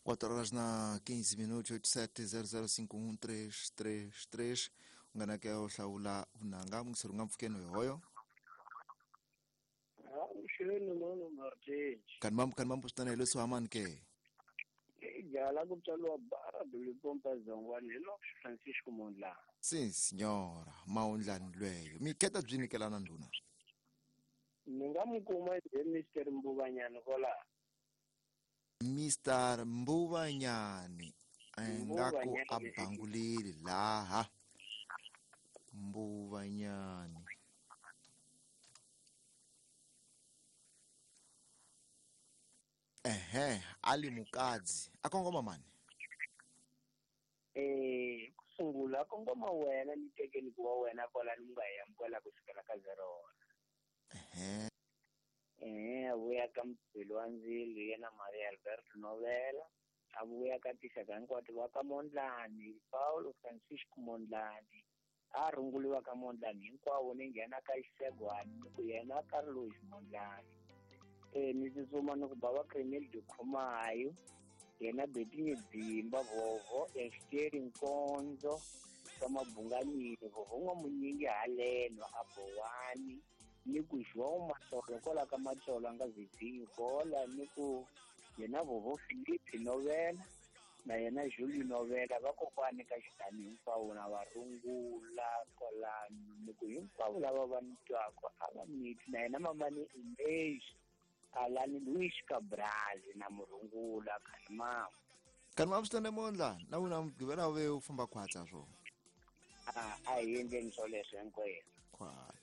4 horas na 15 minutos, 87005133. Ungana ke o hlawula vunanga mungiseri nga mpfukeni hoyo. Avuxeni mano Martin. Kanti mambo kanti mambo sitana leswi hamani ke. Jala ku tswariwa Barado Lipompa Zongwane hi Lopes Francisco Mondlane. Si signora, maundlani lweyo. Mi keta byi nyikelana ndhuna. Ni nga mi kuma hi Mr Mbuvanyani kwala. Mr Mbuvanyani ingaku a bangulile laha. Mbuvanyani. Ehe, ali mukadzi. Akongoma mani? Kusungula akongoma wena ni tekeni kuwa wena kwala ni nga ya mkwala kusukela ka 0. Ehe. Avuya ka Mpilo wa Ndzilo yena Maria Alberto Novela, avuya ka tixaka hinkwato va ka Mondlane, Paulo Francisco Mondlane, a rhunguliwa ka Mondlane hinkwavo ni nghena ka Xisegwani ni ku yena Carlos Mondlane. Ni tsutsuma ni ku bava Cremel de Khumayo, yena Betinye Dzimba Vovo, Esteri Nkonzo, ka Mabunganile, Vovo N'wamunyingi haleno a Bowani, ni ku João Matsolo kwala ka Matsolo a nga Vizinho kola, ni ku yena Vovo Filipe Novela na yena Julio Novela vakokwani ka xitani hinkwavo na va rungula kwalano, ni ku hinkwavo lava va ni twaka a va miti na yena mamani Inês Alani Luis Cabral na murungula Kanimam. Kanimam swi tane mondla na wena mugqivela ve u famba khwatsa swo. A hi endleni swoleswo hinkwenu. Khwatsa.